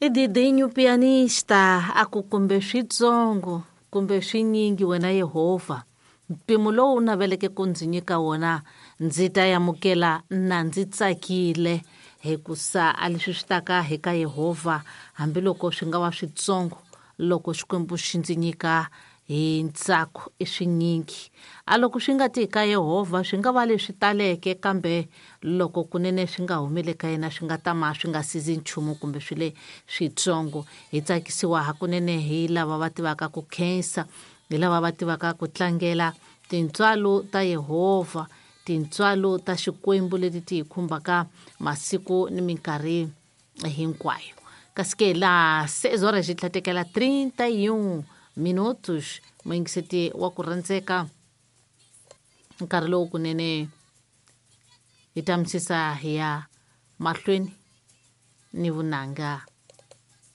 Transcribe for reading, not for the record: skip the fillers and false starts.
I Didinho pianista a ku kumbe switsongo kumbe swinyingi wena Yehovha mpimo lowu u naveleke ku ndzi nyika wona ndzi ta amukela na ndzi tsakile hikusa a leswi swi taka hi ka Yehovha hambiloko swi nga va switsongo loko Xikwembu xi ndzi nyika hi ntsako i swinyingi a loko swi nga ti ka Yehovha swi nga va leswi taleke kambe loko kunene swi nga humeli ka yena swi nga tama swi nga sizi nchumu kumbe swi le switsongo hi tsakisiwa hakunene hi lava va tivaka ku khensa hi lava va tivaka ku tlangela tintswalo ta Yehovha tintswalo ta Xikwembu leti ti hi khumbaka masiku ni minkarhi hinkwayo kasi ke laha 6 horas xi tlhatekela 31 minutos muyingiseti wa ku rhandzeka nkarhi lowu kunene hi ta misisa hi ya mahlweni ni vunanga.